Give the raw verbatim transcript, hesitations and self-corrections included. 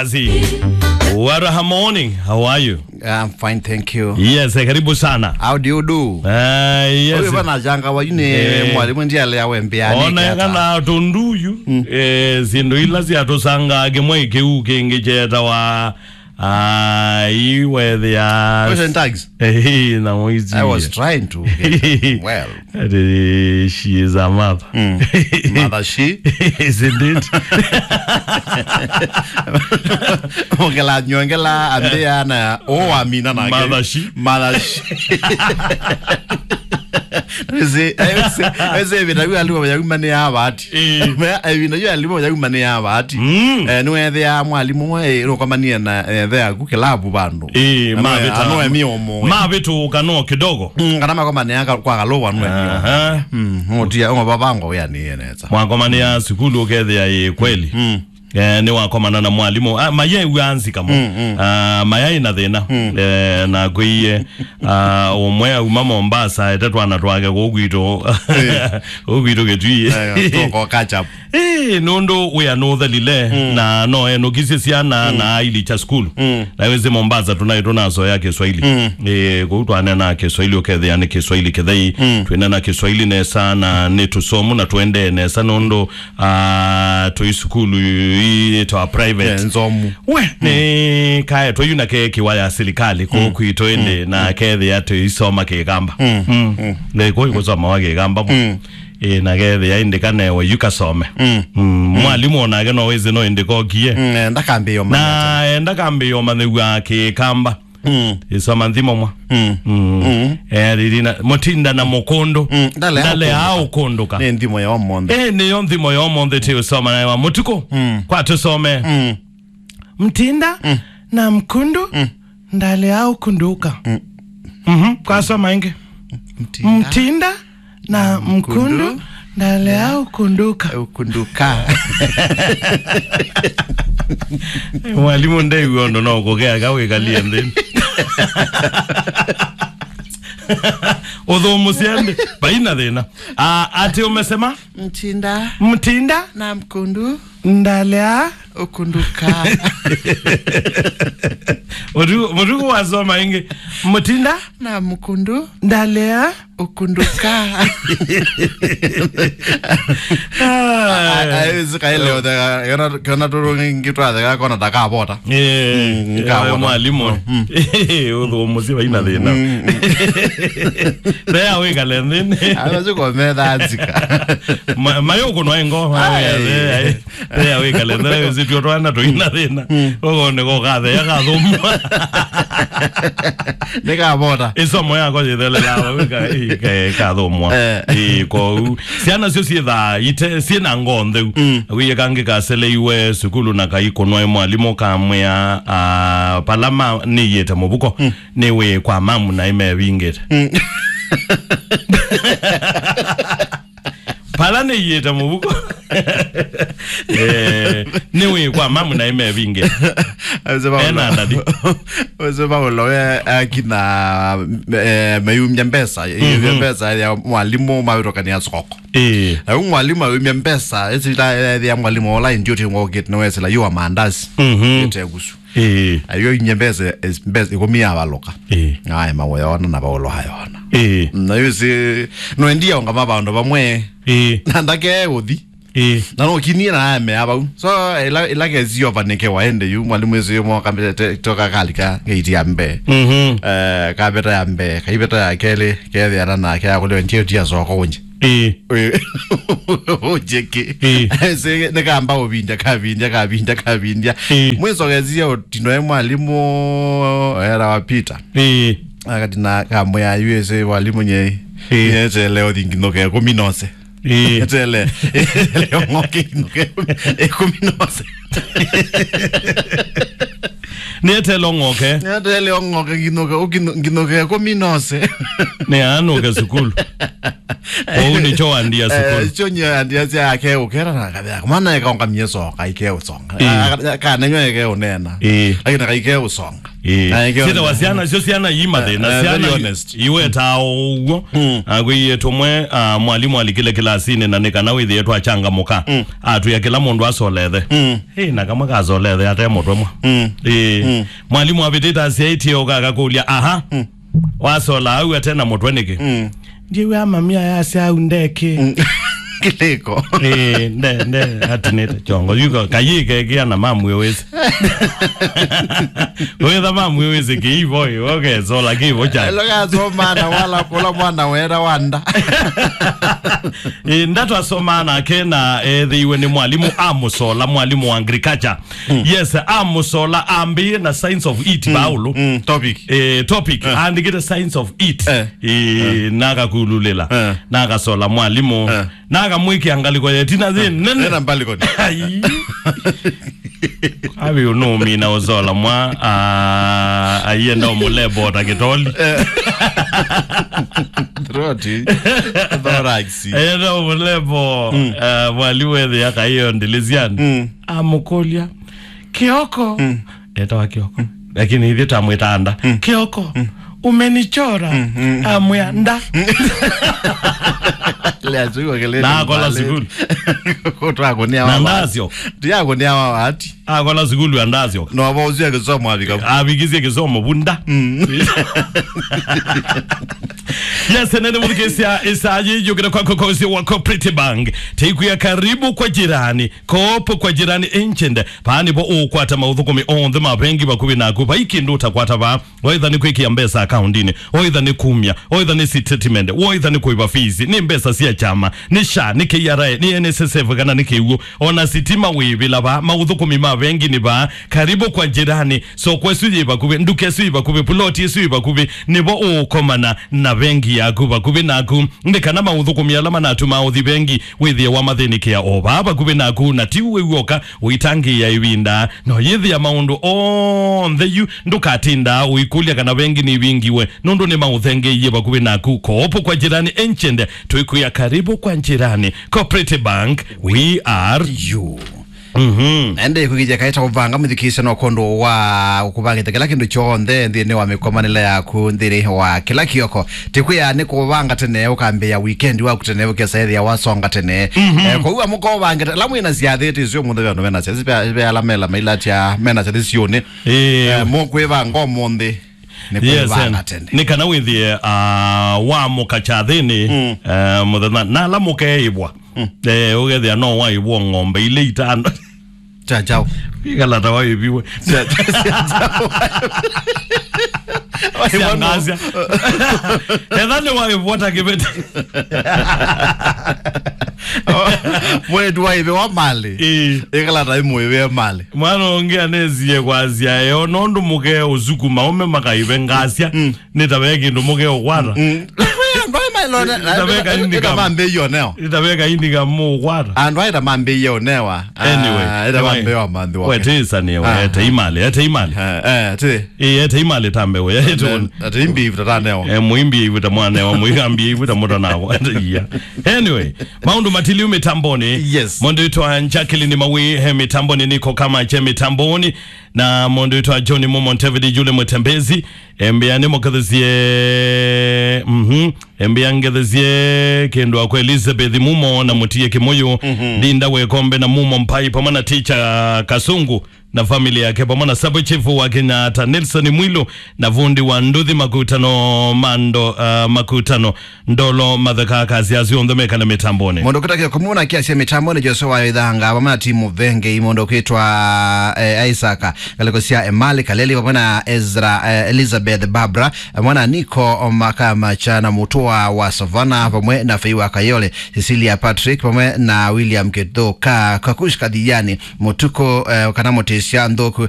Azi. What a morning. How are you? I'm fine, thank you. Yes, eh, karibu sana. How do you do? Ah, yes. Oyo bana janga wa yune Eh. mwalimu ndiye ale awe mbia. Ona kana tunduyu. Eh, sindu ila sia tusanga kimwe kiu kingi cheta wa ah, iwe the Question tags. Eh, na mwizi. I was trying to get well. Ati, she is a mother. Mm. Mother she? Isn't it? Ongela nyongela ambia na o amina na Mother she? Mother she. Ese ese ese vita yu alimu ya mane ya vati. Eh. Me evina yu alimu ya mane ya vati. Mm. Eh, niwethea mwalimu mwe eh, rokomanie na eh, the aku kilabu vandu. Eh, mavita. Ano emi omo. Mavitu kano kidogo. Mm, kana makomania ka- kwa galowa nwe. Aha. Mm, ngotia ngo babango ya ni eneza. Mwakomania sukulu ukethia ĩ kweli. Mm. Eh, nĩ wakomana na mwalimũ. Ah, maye yu anzi kamo. Mm, mm. Ah, maye ina thĩna. Mm. Eh, na kwĩie ah, ũmwe auma Mombasa ete twana twake kũu kwitũ. Eh. Kũu kwitũ Kitui. Eh, tuko catch up. Eh, nũndũ wĩa nũthelile Mm. na no enũkisye syana Mm. na aili cha sukulu. Mm. Na wĩsĩ Mombasa tunaĩ tunasoya Kiswahili. Mm. Eh, kũu twanena Kiswahili ũkethĩa nĩ Kiswahili kĩthei. Mm. Twĩnena Kiswahili nesa na nĩ tũsomu na tũendee nesa nũndũ ah, twĩ sukulu ii ĩtawa private. Eh, nzomu. We, nĩ kaetwe yu na ke kĩwa ya silikali kũu kwitũ ĩndĩ na kethĩa tũisoma kĩkamba. Mm. Mm. Nĩ kũu kũsomawa kĩkamba. Mm. Ĩ, na kethĩa ĩndĩ kanewe yu kasome. Mm. Mm. Mwalimũ onake no wĩsĩ no ĩndĩ kokie. Mm, eh, ndakambĩĩo na manyata. Enda kambĩĩo manyĩw'a kĩkamba. Mm. Isoma nthimo mwa. Mm. Mm. Mm. Eh, riri na Mutinda na Mukundu. Mm. Ndale Ndale au au kunduka. Ni nthimo ya omonthe. Eh, niyo nthimo ya omonthe ti usoma nayo wa mutuku. Mm. Kwa tusome. Mm. Mtinda Mm. na Mkundu. Mm. Ndale au kunduka. Mm. Mhm. Kwa soma ingi. Mtinda. Mtinda na Mkundu. Mkundu. Ndalea ukunduka. Ukunduka. Mwalimu ndew'o ũndũ no kũkea ka wĩkalie nthĩ. Ũthũmũsya nthĩ, vaina thĩna. Ah, ati umesema? Mtinda. Mtinda. Na Mkundu. Ndalea. Ukunduka. Mũtuku, mũtuku wasoma ingi. Mtinda. Na Mkundu. Ndalea. Ukunduka. Ah. Ai, ai, sikaelewa, kona, kona turungi twatheka, kona takavota. Eh, Mm, eh, kavota. Mwalimu. Mm. Ũthũmũsya vaina thĩna. Mm, mm. Thea wĩkale nthĩnĩ. Ayo siko metha nzika. Ma-, mayo kuno engo. Ai. Ai, ai. Thea wĩkale nthĩnĩ, wĩsĩ tuo twana tũina thĩna. Mm. Ũgone ko kathea kathũmwa. Nĩ kavota. Ĩsomo yako yĩthelela, wĩka, ĩ, ka-, kathũmwa. Eh. Ĩ, kwoou. Syana syo syĩthaa ite, syĩ na ngoo ntheu. Mm. Wĩye kangĩ kaseleiwe sukulu na kaikũnwa ĩ mwalimũ kamwĩa, ah, pala ma nĩyĩte mũvuko, Mm. nĩwĩ kwa mamu na ĩmevingĩte. Mm. Pala nĩyĩte mũvuko. Eh, nĩwĩ kwa mamu na ĩmevingĩte. Ese Paulo. Ena ndadi. Ese Paulo, we, akina, eh, meyumya mbesa, Mhm. mbesa ya mwalimũ mawĩtũkania soko. Ĩĩ. Na yu mwalimu ayumya mbesa, ĩsila ya mwalimu ola ndio tingo kit no esila yu wa mandazi. Mhm. Ite gusu. Ĩĩ. Ayo inye mbesa, es-, mbesa ikũmi ya valuka. Ĩĩ. Aye mawoyona na Paulo ayona. Ĩĩ. Na yu si, no endia onga mavandu vamwe. Ĩĩ. Na ndake uthi. Ĩĩ. Na no kinie na ame avau. So, ila, ila kesi yo vanike waende yu, mwalimu ĩsu yu mwa kambete, toka kalika, gate ya mbee. Mhm. Eh, kaveta ya mbee, kaiveta ya kelĩ, kethĩana nake, akũlĩwe ndio tia soko unje. Ĩĩ. Ĩĩ. Unje ki. Ĩĩ. Ese, nĩ kamba ũvindya, kavindya, kavindya, kavindya. Ĩĩ. Mwiso gesia ũtino e mwalimu, era wa Peter. Ĩĩ. Akatina kamwe ya U S A mwalimu nyei. Ĩĩ. Nyetele ũthi nginũke kũmi nose. Ĩĩ. Etele. Etele ong'oke nginũke kũmi nose. Nĩ etele ong'oke. Nĩ etele ong'oke nginũke, ũkinũ-, nginũke kũmi nose. Nĩ anũke sukulu. Kwoou nĩkyo wandia sukulu. Eh, kyo nyie andia sya ake ũkera na kathea. Mwana eka ongamie songa, ike ũsonga. Ĩĩ. Ah, ka-, kanenyo eke ũnena. Ĩĩ. Lakini kaike ũsonga. Ĩĩ. Na ĩkĩona. Sita wa syana, syo syana ii mathĩna. Eh, eh, very honest. Syana iwetaa o ũw'o. Mm. Akwĩie tũmwe, ah, mwalimũ alikile kĩlasinĩ na nĩ kana wĩthĩe twachangamũka. Mm. Atwĩa kĩla mũndũ asolethe. Mm. Ĩĩ, na kamwe kasolethe ate mũtwe mwa. Mm. Ĩĩ. Mm. Mwalimũ avĩtĩte asyaĩtye ũka akakũlya, "Aha. Mm. Wasola au ate na mũtwe nĩkĩ?" Mm. Ndiw'a mamia yasya au ndekĩ. Mm. Kĩlĩko. Eh, nde, nde, atinĩte chongo. Yuko, kayĩke kĩa na mamwĩ wĩsĩ. Wĩtha mamwĩ wĩsĩ kĩivo, ĩ, ũkesola kĩivo cha. Elo kasomana wala kũla mwana wera wanda. Eh, ndatwasomana kena ethĩiwe nĩ mwalimũ amũsola, mwalimũ wa agriculture. Mm. Yes, amũsola ambĩie na science of it, mm, Paulo. Mm, topic. Eh, topic. Eh. Andĩkĩte science of it. Eh. Eh, eh, nakakululĩla. Eh. Nakasola mwalimũ. Eh. Nakamwĩkĩa ngalĩko ya ĩtina yĩ nene. Ena mbalikoni. Ai. Avi ũnũũmina ũsola mwa, ah, aienda ũmũlebo ta kĩtoli. Eh. Throat. Thorax. Aienda ũmũlebo, mm, ah, mwalimũ ethĩa kaiyo ndiliziani. Mm. Amũkũlya, "Kioko." Mm. Etawa Kioko. Mm. Lakini ithyĩ twamwĩtaa Nda. Mm. "Kioko, mm, umenichora." Mm, mm. Amwĩa, "Nda." Lea sukulu kĩlĩ na akola mbali. Sukulu. Kũtwa kũnia na wa ndasyo. Tiya kũnia wa wati. Akola sukulu ya ndasyo. No, vo ũcio kĩsomo avika. Avikisye kĩsomo vunda. Mm. Yes, nene mũthikĩsya ĩsaa yĩyũkĩte kwako kwa ũsio wa Cooperative Bank. Teikwĩa karibu kwa jirani. Kopo kwa jirani agent. Vaa nĩvo ũũkwata maũthũkũmi onthe ma vengi vakuvĩ naku. Vai kĩndũ ũtakwata vaa. Waitha nĩ kwĩkĩa mbesa akaundinĩ. Waitha nĩ kumya. Waitha nĩ statement. Waitha nĩ kũiva fees. Nĩ mbesa sya kyama. Nĩ SHA, nĩ K R A, nĩ N S S F kana nĩ kĩw'ũ. Ona sitima wĩvĩla vaa. Maũthũkũmi ma vengi nĩ vaa. Karibu kwa jirani. Soko ĩsu yĩ vakuvĩ. Nduka ĩsu yĩ vakuvĩ. Puloti ĩsu yĩ vakuvĩ. Nĩvo ũũkomana na vengi yaku vakuvĩ naku. Nĩ kana maũthũkũmi ala manatumaa ũthi vengi wĩthĩe wamathĩnĩkĩa o vaa vakuvĩ naku, na ti we w'oka ũitangĩĩa ĩvinda. No yĩthĩa maũndũ onthe yu, ndũkatindaa ũikũlya kana vengi nĩvingiwe, nũndũ nĩmaũthengeeie vakuvĩ naku. Kopo kwa jirani agent, twĩkwĩa karibu kwa jirani. Cooperative Bank, we are you. Mhm. Na ĩndĩ kwĩkĩthya kaĩ ta ũvanga mũthikĩĩsya no kwondũ wa ũkũvangĩte kĩla kĩndũ kyonthe nthĩnĩ wa mĩkomanĩle yaku nthĩnĩ wa kĩla kĩoko. Tĩkwĩa nĩ kũvanga tene, ũkambĩĩa weekend waku tene, ũkesa ĩthĩa wasonga tene. Mhm. Eh, kwoou amũka ũvangĩte, ala mwĩ na syathĩ, tĩsio mũthenya andũ mena syathĩ, ve, ve ala mela mailatya mena syathĩ siũnĩ. Ĩĩ. Eh, mũkwĩvanga ũmũnthĩ. Nĩ, yes, kwĩvanga tene. Nĩ kana wĩthĩe, ah, wamũka kyathĩnĩ, mm, eh, mũthenya, na ala mũkeĩvwa. Mm. Eh, ũkethĩa no waĩvwa ng'ombe ilĩ itano. Cha chao. Wĩkalata waĩviwe. Cha, cha, cha chao. Syangasya. Etha nĩ waĩvwa ta kĩveti. Mwetu waĩve wa malĩ. Ĩĩ. Ĩkalata ĩmũĩve malĩ. Mwana ũngĩ anesie kwasya eo, nũndũ mũke ũsuku maũme makaive ngasya, mm, nĩ ta ve kĩndũ mũke ũkwata. Mm. Andũ aĩ mailone, nĩ ta ve kaindi ĩta ka mambĩie ũnewa. Nĩ ta ve kaindi ka mũkwata. Andũ aĩ ta mambĩie ũnewa. Anyway, ah, ĩta anyway, mambĩie wa manthi wake. Wetĩĩsanie, ah, wete imali, ete imali. Eh, eh, ti. Ĩĩ, ete imali ta mbeũ ya ĩtũ. Ate imbi ivita ta newa. Eh, muimbi ivita mwanewa, muigambi ivita mũtanakwa. Ate iya. Anyway, maũndũ matiliu mĩtambonĩ. Yes. Mũndũ wĩtwa Jacqueline Mawi, he mĩtambonĩ, niko kama che mĩtambonĩ. Na mũndũ wĩtwa John Mumo, David Jule Mũtembezi. Embĩa nĩ mũkethesye, mhm. Embĩa ngethesye kĩndũ akwa Elizabeth Mumo na Mũtie Kĩmũyũ. Mhm. Ndinda Wekombe na Mumo Mpai pamwe na Ticha Kasungu na family yake, pamwe na Sub Chief wa Kenyatta, Nelson Mwilu, na vundi wa nduthi makutano, mando, uh, makutano, ndolo matheka, kasi asu onthe mekale mitamboni. Mũndũ kĩta kĩo kũmuna kiasi mitamboni, Joshua wa Ithanga, pamwe na timu vengi, mũndũ kwĩtwa, eh, Isaac, ngalĩko sya Emali Kaleli, pamwe na Ezra, eh, Elizabeth Barbara, pamwe na Nico Makamacha na Mutua wa Savana, pamwe na Fei wa Kayole, Cecilia Patrick, pamwe na William Kithuka, Kakush Kadhiani, Mũtuku, eh, kana Mũtĩsya Nthũku,